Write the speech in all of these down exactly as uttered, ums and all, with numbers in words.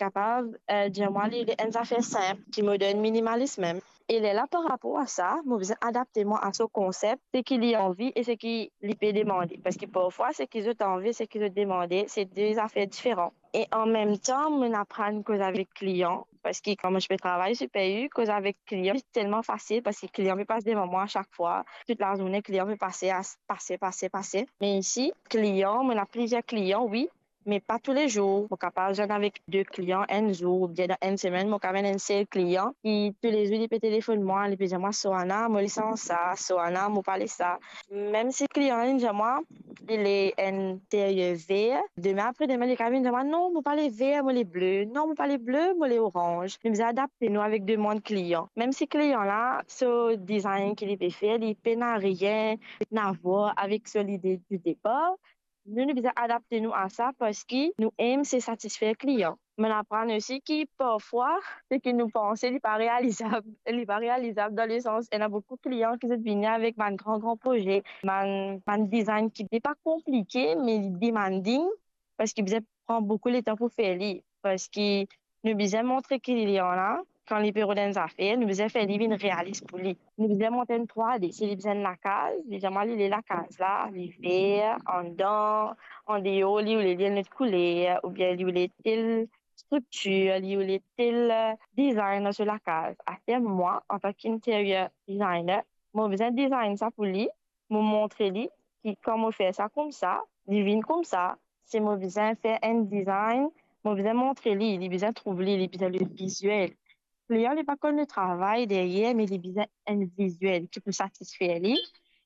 kapav, eh, dir mwa li, li enn zafer sinp, ki mo dan enn minimalis mem. E lerla, par rapor a sa, mo bizin adapte mwa a so konsep, seki li anvi e seki li pe demande. Parski parfwa, seki zot anvi, seki zot demande, se de zafer diferan. E anmemtan, mo aprann koz avek klian, parski kan mo ti pe travay Super U, koz avek klian, li telman fasil, parski klian pe pas devan mwa sak fwa, tout lazourne klian pe pase, a, pase, pase, pase. Me isi, klian, mo ena plizier klian, wi, me pa toulezour. Mo kapav zwenn avek de klian enn zour, oubien dan enn semenn, mo kapav enn sel klian ki toulezour li pe telefonn mwa, li pe dir mwa, "Soana, mo le sans sa, Soana, mo pa le sa." Mem si klian la, li dir mwa, li le enn interier ver, demin apre demin, li kapav vinn dir mwa, "Non, mo pa le ver, mo le ble. Non, mo pa le ble, mo le oranz." Nou bizin adapte nou avek demann klian. Mem si klian la, so design ki li pe fer, li pena rien, pena voir avek so lide di depar, nou, nou bizin adapte nou a sa, parski nou aim se satisfer klian. Mo aprann osi ki parfwa, seki nou panse, li pa realizab. Li pa realizab dan lesans, ena boukou klian ki zot vini avek bann gran, gran proze, bann, bann design ki li pa konplike, me li demanding, parski bizin pran boukou letan pou fer li. Parski nou bizin montre klian la, kan li pe rod enn zafer, nou bizin fer li vinn realis pou li. Nou bizin mont enn trwa D. Si li bizin enn lakaz, li dir mwa li le lakaz la, li ver, andan, andeor, li oule li enn lot kouler, oubien li oule tel striktir, li oule tel, eh, design dan so lakaz. Aster mwa, antan ki interior designer, mo bizin design sa pou li, mo montre li ki kan mo fer sa koumsa, li vinn koumsa. Si mo bizin fer enn design, mo bizin montre li, li bizin trouv li, li bizin le viziel. Klian, li pa konn le travay deryer, me li bizin enn viziel ki pou satisfer li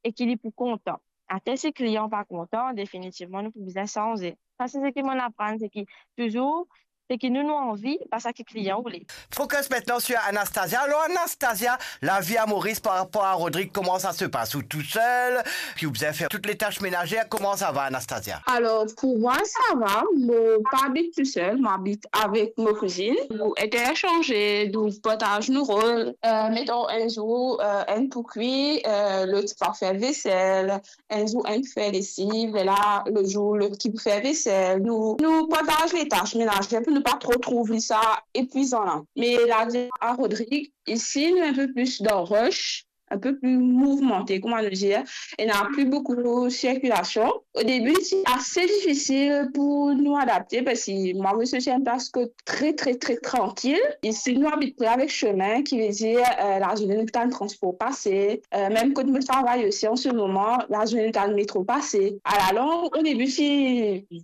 e ki li pou kontan. Aster si klian pa kontan, definitivman, nou pou bizin sanze. Sa, se seki mo aprann, seki touzour, seki nou, nou anvi, pa seki klian oule. Focus maintenant sur Anastasia. Alors, Anastasia, la vie à Maurice par rapport à Rodrigue, comment ça se passe? Ou tout seul, puis ou bizin fer toutes les tâches ménagères. Comment ça va, Anastasia? Alors, pour moi, ça va. Mo pa abit tou sel, mo abit avek mo kouzinn. Nou intersanze, nou partaz nou rol. Euh, meton, enn zour, euh, enn pou kwi, euh, lot pa fer vesel, enn zour enn pou fer lesiv, e la, lot zour, lot ki pou fer vesel. Nou, nou partaz le tâches ménagères pou nou pa tro trouv sa epwizan la. Me la vie à Rodrigue, isi, nou enn pe plis dan rush, enn pe pli mouvmante, kouma nou dir, ena pli boukou sirkilasion. O debi, ti ase difisil pou nou adapte, parski mwa, mo sorti enn plas kot tre, tre, tre trankil. Isi, nou abit pre avek sime, ki ve dir, euh, lazourne nou tann transpor pase. Euh, mem kot mo travay osi an se moman, lazourne nou tann metro pase. Alalong, o debi, ti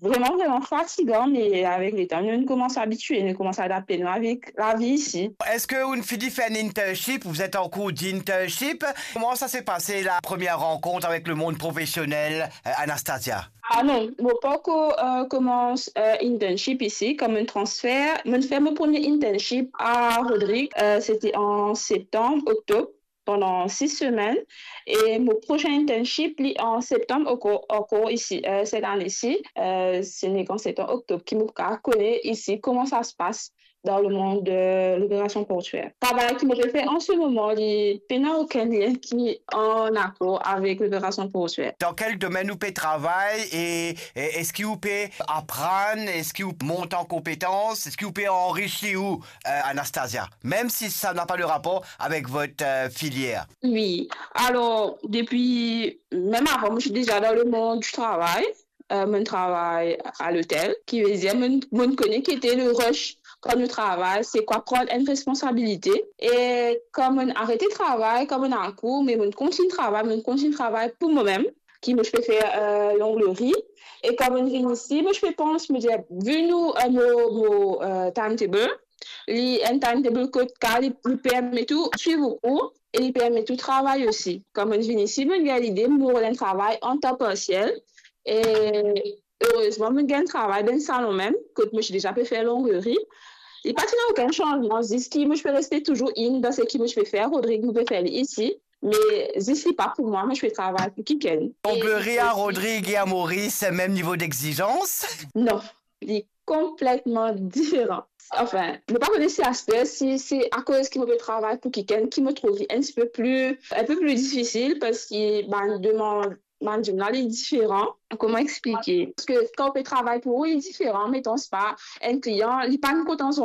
vreman, vreman fatigan, me avek letan, nou, nou koumans abitie, nou koumans adapte nou avek lavi isi. Est-ce que ou fini fer enn internship? Vous êtes en cours d'internship. Comment ça s'est passé, la première rencontre avec le monde professionnel, euh, Anastasia? Ah non, mo pankor, euh, koumans, euh, internship isi, kom enn transfer. Mo fer mo premie internship à Rodrigue, euh, sete an septanm, oktob, pandan sis semenn. E mo prosin internship, li an septanm ankor, ankor isi, euh, set ane-si, euh, se nek an septanm, oktob, ki mo pou kone isi kouma sa se pas dan le monde de l'opération portuaire. Travay ki mo pe fer an se moman, li pena okenn lien ki an akor avek l'opération portuaire. Dan kel domenn ou pe travay e, e eski ou pe aprann, eski ou mont an konpetans, eski ou pe anrisi ou, euh, Anastasia, même si ça n'a pas de rapport avec votre, euh, filière? Wi. Alor, depi, mem avan, mo ti deza dan le monde du travail. Euh, mo travay a lotel, ki ve dir mo, mo kone ki ete le rush kan nou travay, se kwa pran enn responsabilite. E kan mo arete travay, kan mo akour, me mo kontign travay, mo kontign travay pou momem, ki mo ti pe fer, euh, longleri. E kan mo vinn isi, mo ti pe pans, mo dir, vi nou, euh, mo, mo, euh, timetable, li enn timetable kot ki li, li permet ou swiv ou kour e li permet ou travay osi. Kan mo vinn isi, mo gagn lide, mo rod enn travay an tan parsiel. E erezman, mo gagn travay dan enn salon mem, kot mo ti deza pe fer longleri. Li pa ti ena okenn sanzman, zis ki mo ti pe reste touzour in dan seki mo ti pe fer Rodrigue, mo pe fer li isi. Me zis li pa pou mwa, mo ti pe travay pou kikenn. Longleri à Rodrigue et à Maurice, même niveau d'exigence? Non, li konpletman diferan. Anfin, mo pa kone si aster, si se akoz ki mo pe travay pou kikenn, ki mo trouv li enn tipe pli, enn pe pli difisil, parski bann demann, bann demann la, li diferan. Kouma explike? Parski kan ou pe travay pou ou, li diferan. Meton, spa, enn klian, li pa kontan